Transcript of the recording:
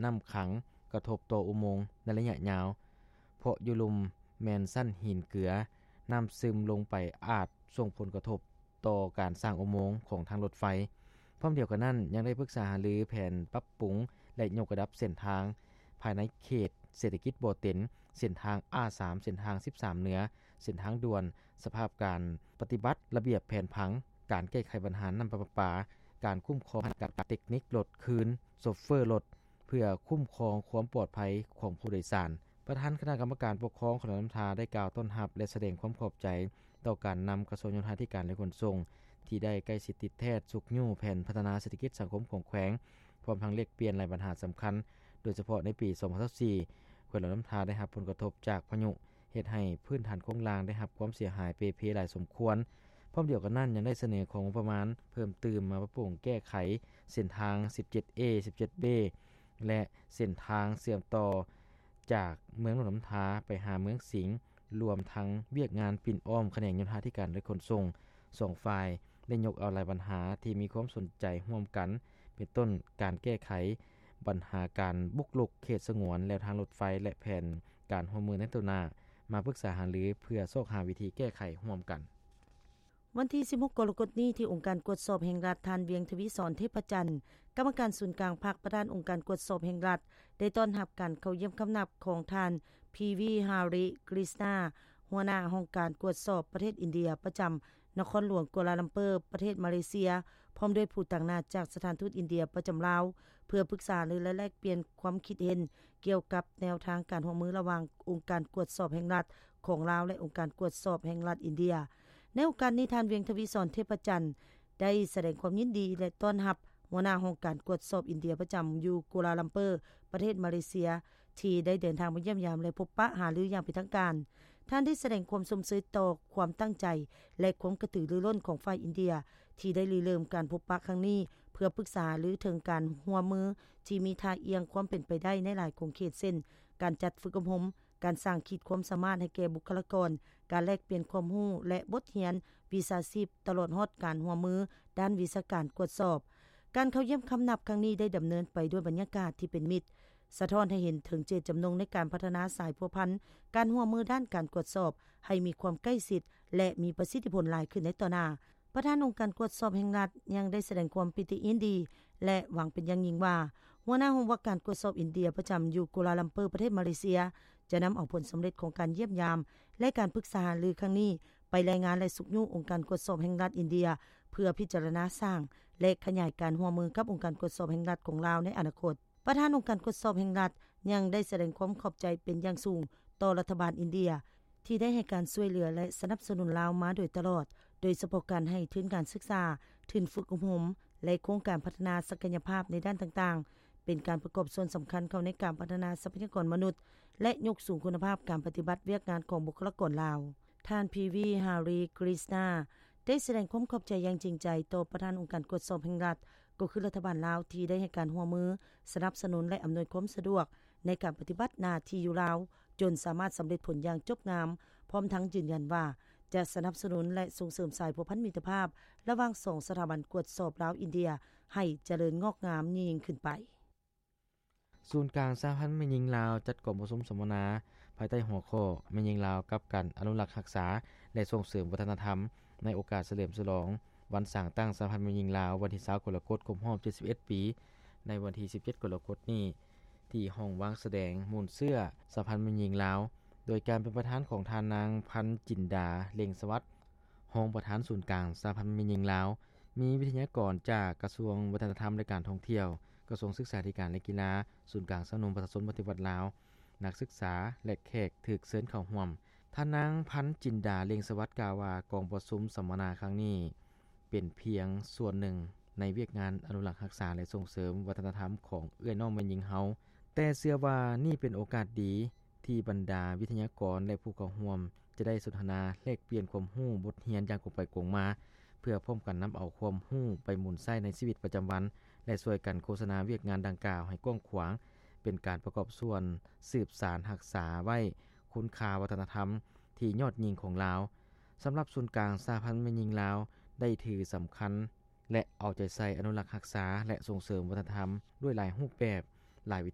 ນ້ຳຂັງກະທົບຕໍ່ອຸໂມງໃນໄລຍະຍາວ, ເພາະຢູ່ລຸ່ມແມ່ນຊັ້ນຫີນເກືອ, ນ້ຳຊຶມລົງໄປອາດສົ່ງຜົນກະທົບຕໍ່ການສ້າງອຸໂມງຂອງທາງລົດໄຟ. ພ້ອມດຽວກັນນັ້ນ, ຍັງໄດ້ປຶກສາຫາລືແຜນປັບປຸງ ແລະ ຍົກລະດັບເສັ້ນທາງພາຍໃນເຂດເສດຖະກິດບໍ່ເຕັນ, ເສັ້ນທາງ ອາ ສາມ, ເສັ້ນທາງ ສິບສາມ ເໜືອ, ເສັ້ນທາງດ່ວນ, ສະພາບການປະຕິບັດລະບຽບແຜນຜັງ, ການແກ້ໄຂບັນຫານ້ຳປະປາ, ການຄຸ້ມຄອງການເຕັກນິກລົດຄືນ, ໂຊເຟີລົດ, ເພື່ອຄຸ້ມຄອງຄວາມປອດໄພຂອງຜູ້ໂດຍສານ. ປະທານຄະນະກຳມະການປົກຄອງແຂວງຫຼວງນ້ຳທາໄດ້ກ່າວຕ້ອນຮັບ ແລະ ສະແດງຄວາມຂອບໃຈຕໍ່ການນຳກະຊວງໂຍທາທິການ ແລະ ຂົນສົ່ງ ທີ່ໄດ້ໃກ້ຊິດຕິດແທດຊຸກຍູ້ແຜນພັດທະນາເສດຖະກິດສັງຄົມຂອງແຂວງ, ພ້ອມທັງແລກປ່ຽນຫຼາຍບັນຫາສຳຄັນ, ໂດຍສະເພາະໃນປີສອງພັນຊາວສີ່ ແຂວງຫຼວງນ້ຳທາໄດ້ຮັບຜົນກະທົບຈາກພາຍຸ ເຮັດໃຫ້ພື້ນຖານໂຄງລ່າງໄດ້ຮັບຄວາມເສຍຫາຍເປ່ເພຫຼາຍສົມຄວນ. ພ້ອມດຽວກັນນັ້ນ, ຍັງໄດ້ສະເໜີຂໍງົບປະມານເພີ່ມຕື່ມມາປັບປຸງແກ້ໄຂເສັ້ນທາງ ສິບເຈັດເອ ສິບເຈັດເບ ແລະ ເສັ້ນທາງເຊື່ອມຕໍ່ຈາກເມືອງຫຼວງນ້ຳທາໄປຫາເມືອງສິງ, ລວມທັງວຽກງານປິ່ນອ້ອມຂະແໜງໂຍທາທິການ ແລະ ຂົນສົ່ງ. ສອງຝ່າຍໄດ້ຍົກເອົາຫຼາຍບັນຫາທີ່ມີຄວາມສົນໃຈຮ່ວມກັນ, ເປັນຕົ້ນການແກ້ໄຂບັນຫາການບຸກລຸກເຂດສະຫງວນແລວທາງລົດໄຟ ແລະ ແຜນການຮ່ວມມືໃນຕໍ່ໜ້າ ມາປຶກສາຫາລືເພື່ອຊອກຫາວິທີແກ້ໄຂຮ່ວມກັນ. ວັນທີສິບຫົກ ກໍລະກົດນີ້ ທີ່ອົງການກວດສອບແຫ່ງລັດ ທ່ານ ວຽງທະວີສອນ ເທບພະຈັນ ກຳມະການສູນກາງພັກ, ປະທານອົງການກວດສອບແຫ່ງລັດ ໄດ້ຕ້ອນຮັບການເຂົ້າຢ້ຽມຄຳນັບຂອງທ່ານ ພີວີ ຮາຣິ ກຣິສນາ ຫົວໜ້າຫ້ອງການກວດສອບປະເທດອິນເດຍ ປະຈຳນະຄອນຫຼວງກົວລາລຳເປີ ປະເທດມາເລເຊຍ, ພ້ອມດ້ວຍຜູ້ຕາງໜ້າຈາກສະຖານທູດອິນເດຍປະຈຳລາວ ເພື່ອປຶກສາຫາລື ແລະ ແລກປ່ຽນຄວາມຄິດເຫັນກ່ຽວກັບແນວທາງການຮ່ວມມືລະຫວ່າງອົງການກວດສອບແຫ່ງລັດຂອງລາວ ແລະ ອົງການກວດສອບແຫ່ງລັດອິນເດຍ. ໃນໂອກາດນີ້, ທ່ານ ວຽງທະວີສອນ ເທບພະຈັນ ໄດ້ສະແດງຄວາມຍິນດີ ແລະ ຕ້ອນຮັບຫົວໜ້າຫ້ອງການກວດສອບອິນເດຍປະຈຳຢູ່ກົວລາລຳເປີ ປະເທດມາເລເຊຍ ທີ່ໄດ້ເດີນທາງມາຢ້ຽມຢາມ ແລະ ພົບປະຫາລືຢ່າງເປັນທາງການ. ທ່ານໄດ້ສະແດງຄວາມຊົມເຊີຍຕໍ່ຄວາມຕັ້ງໃຈ ແລະ ຄວາມກະຕືລືລົ້ນຂອງຝ່າຍອິນເດຍ ທີ່ໄດ້ລິເລີ່ມການພົບປະຄັ້ງນີ້ ເພື່ອປຶກສາຫາລືເຖິງການຮ່ວມມືທີ່ມີທ່າອ່ຽງຄວາມເປັນໄປໄດ້ໃນຫຼາຍຂົງເຂດ ເຊັ່ນ ການຈັດຝຶກອົບຮົມ, ການສ້າງຂີດຄວາມສາມາດໃຫ້ແກ່ບຸກຄະລາກອນ, ການແລກປ່ຽນຄວາມຮູ້ ແລະ ບົດຮຽນວິຊາຊີບ, ຕະຫຼອດຮອດການຮ່ວມມືດ້ານວິຊາການກວດສອບ. ການເຂົ້າຢ້ຽມຄຳນັບຄັ້ງນີ້ໄດ້ດຳເນີນໄປດ້ວຍບັນຍາກາດທີ່ເປັນມິດ, ສະທ້ອນໃຫ້ເຫັນເຖິງເຈດຈຳນົງໃນການພັດທະນາສາຍພົວພັນການຮ່ວມມືດ້ານການກວດສອບໃຫ້ມີຄວາມໃກ້ຊິດ ແລະ ມີປະສິດທິຜົນຫຼາຍຂຶ້ນໃນຕໍ່ໜ້າ. ປະທານອົງການກວດສອບແຫ່ງລັດຍັງໄດ້ສະແດງຄວາມປີຕິຍິນດີ ແລະ ຫວັງເປັນຢ່າງຍິ່ງວ່າ ຫົວໜ້າຫ້ອງວ່າການກວດສອບອິນເດຍປະຈຳຢູ່ກົວລາລຳເປີ ປະເທດມາເລເຊຍ ຈະນຳເອົາຜົນສຳເລັດຂອງການຢ້ຽມຢາມ ແລະ ການປຶກສາຫາລືຄັ້ງນີ້ ໄປລາຍງານ ແລະ ຊຸກຍູ້ອົງການກວດສອບແຫ່ງລັດອິນເດຍ ເພື່ອພິຈາລະນາສ້າງ ແລະ ຂະຫຍາຍການຮ່ວມມືກັບອົງການກວດສອບແຫ່ງລັດຂອງລາວໃນອະນາຄົດ. ປະທານອົງການກວດສອບແຫ່ງລັດຍັງໄດ້ສະແດງຄວາມຂອບໃຈເປັນຢ່າງສູງຕໍ່ລັດຖະບານອິນເດຍ ທີ່ໄດ້ໃຫ້ການຊ່ວຍເຫຼືອ ແລະ ສະໜັບສະໜູນລາວມາໂດຍຕະຫຼອດ, ໂດຍສະເພາະການໃຫ້ທຶນການສຶກສາ, ທຶນຝຶກອົບຮົມ ແລະ ໂຄງການພັດທະນາສັກກະຍະພາບໃນດ້ານຕ່າງໆ, ເປັນການປະກອບສ່ວນສຳຄັນເຂົ້າໃນການພັດທະນາຊັບພະຍາກອນມະນຸດ ແລະ ຍົກສູງຄຸນນະພາບການປະຕິບັດວຽກງານຂອງບຸກຄະລາກອນລາວ. ທ່ານ ພີວີ ຮາຣີ ກຣິສນາ ໄດ້ສະແດງຄວາມຂອບໃຈຢ່າງຈິງໃຈຕໍ່ປະທານອົງການກວດສອບແຫ່ງລັດ, ກໍຄືລັດຖະບານລາວ ທີ່ໄດ້ໃຫ້ການຮ່ວມມື, ສະໜັບສະໜູນ ແລະ ອຳນວຍຄວາມສະດວກໃນການປະຕິບັດໜ້າທີ່ຢູ່ລາວ ຈົນສາມາດສຳເລັດຜົນຢ່າງຈົບງາມ, ພ້ອມທັງຢືນຢັນວ່າ ຈະສະໜັບສະໜູນ ແລະ ສົ່ງເສີມສາຍພົວພັນມິດຕະພາບລະຫວ່າງສອງສະຖາບັນກວດສອບລາວ-ອິນເດຍ ໃຫ້ຈະເລີນງອກງາມຍິ່ງຂຶ້ນໄປ. ສູນກາງສະຫະພັນແມ່ຍິງລາວ ຈັດກອງປະຊຸມສຳມະນາ ພາຍໃຕ້ຫົວຂໍ້ ແມ່ຍິງລາວກັບການອະນຸລັກຮັກສາ ແລະ ສົ່ງເສີມວັດທະນະທຳ ໃນໂອກາດສະເຫຼີມສະຫຼອງວັນສ້າງຕັ້ງສະຫະພັນແມ່ຍິງລາວ ວັນທີຊາວ ກໍລະກົດ ຄົບຮອບ ເຈັດສິບເອັດ ປີ ໃນວັນທີ ສິບເຈັດ ກໍລະກົດນີ້ ທີ່ຫ້ອງວາງສະແດງມູນເຊື້ອສະຫະພັນແມ່ຍິງລາວ ໂດຍການເປັນປະທານຂອງທ່ານນາງ ພັນຈິນດາ ເລັ່ງສະຫວັດ ຮອງປະທານສູນກາງສະຫະພັນແມ່ຍິງລາວ, ມີວິທະຍາກອນຈາກກະຊວງວັດທະນະທຳ ແລະ ການທ່ອງທ່ຽວ, ກະຊວງສຶກສາທິການ ແລະ ກິລາ, ສູນກາງຊາວໜຸ່ມປະຊາຊົນປະຕິວັດລາວ, ນັກສຶກສາ ແລະ ແຂກຖືກເຊີນເຂົ້າຮ່ວມ. ທ່ານນາງ ພັນຈິນດາ ເລັ່ງສະຫວັດ ກ່າວວ່າ ກອງປະຊຸມສຳມະນາຄັ້ງນີ້ ເປັນພຽງສ່ວນໜຶ່ງໃນວຽກງານອະນຸລັກຮັກສາ ແລະ ສົ່ງເສີມວັດທະນະທຳຂອງເອື້ອຍນ້ອງແມ່ຍິງເຮົາ, ແຕ່ເຊື່ອວ່ານີ້ເປັນໂອກາດດີ ທີ່ບັນດາວິທະຍາກອນ ແລະ ຜູ້ເຂົ້າຮ່ວມຈະໄດ້ສົນທະນາແລກປ່ຽນຄວາມຮູ້ບົດຮຽນຢ່າງກົງໄປກົງມາ, ເພື່ອພ້ອມກັນນຳເອົາຄວາມຮູ້ໄປໝູນໃຊ້ໃນຊີວິດປະຈຳວັນ ແລະ ຊ່ວຍກັນໂຄສະນາວຽກງານດັ່ງກ່າວໃຫ້ກວ້າງຂວາງ, ເປັນການປະກອບສ່ວນສືບສານຮັກສາໄວ້ຄຸນຄ່າວັດທະນະທຳທີ່ຍອດຍິ່ງຂອງລາວ. ສຳລັບສູນກາງສະຫະພັນແມ່ຍິງລາວ ໄດ້ຖືສຳຄັນ ແລະ ເອົາໃຈໃສ່ອະນຸລັກຮັກສາ ແລະ ສົ່ງເສີມວັດທະນະທຳດ້ວຍຫຼາຍຮູບແບບ, ຫຼາຍວິທີ